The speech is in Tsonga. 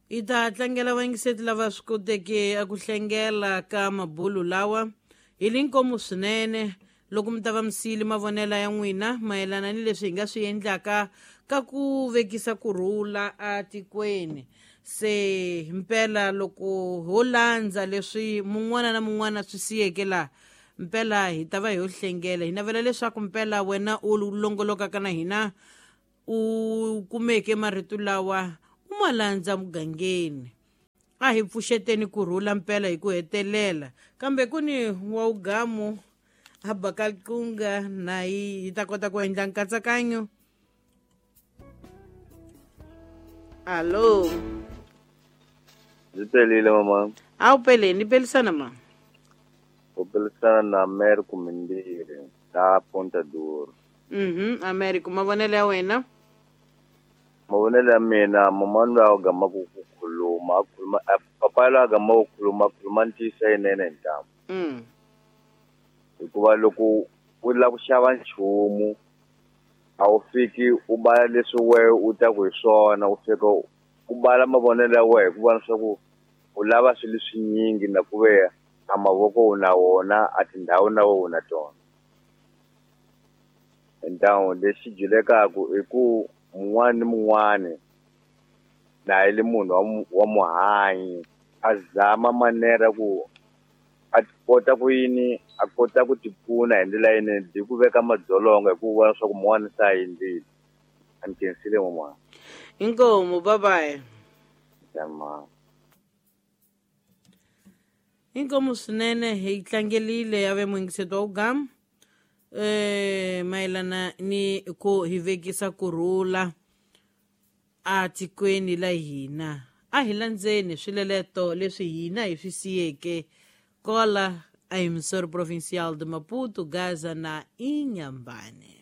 Hi ta tlangela vayingiseti lava swi koteke a ku hlengela ka mabulu lawa hi linkomu swinene loko mi ta va mi siyile mavonelo ya n'wina mayelana ni leswi hi nga swi endlaka ka ku vekisa kurhula atikweni. Se mpela loko ho landza leswi mun'wana na mun'wana swi siyeke laha, mpela hi ta va hi yo hlengela. Hi navela leswaku mpela wena u longolokaka na hina u kumeke marito lawa u ma landza mugangeni. A hi pfuxeteni kurhula mpela hi ku hetelela, kambe ku ni wa ugamu a bakaliqunga na hi ta kota ku endla nkatsakanyo. Alo, ndzi pelile mama. A wu peleni, ni pelisana ma? U pelisana na Americo Mimbirhi la Ponta Duro. Americo, mavonelo ya wena? Mavonelo ya mina, mama loyi a gamaku ku khuluma a khuluma papa loyi a gamaku ku khuluma a khuluma ntiyiso yinene hi ntamu. Hikuva loko u lava ku xava nchumu a wu fiki u bala leswi wehe u taku hi swona, u fika u bala mavonelo ya wehe hikuva leswaku u lava swilo leswinyingi na ku ve a mavoko u na wona, a tindhawu na wena u na tona. Ntamu lexi dyulekaku i ku mun'wana ni mun'wana na yi le munhu wa muhanyi a zama manera ku a kota ku yini a kota ku tipfuna hi ndlela yinene hi ku veka madzolonga hi ku vona leswaku mun'wana se a endlile. A ni khensile n'wana. Inkomu, bye bye. Tama. Inkomu swinene hi tlangelile ya ve muyingiseti wa ugamu mayelana ni ku hi vekisa kurhula atikweni la hina. A hi landzeni swileleto leswi hina hi swi siyeke kola a emissora provincial de Maputo, Gaza na Inhambane.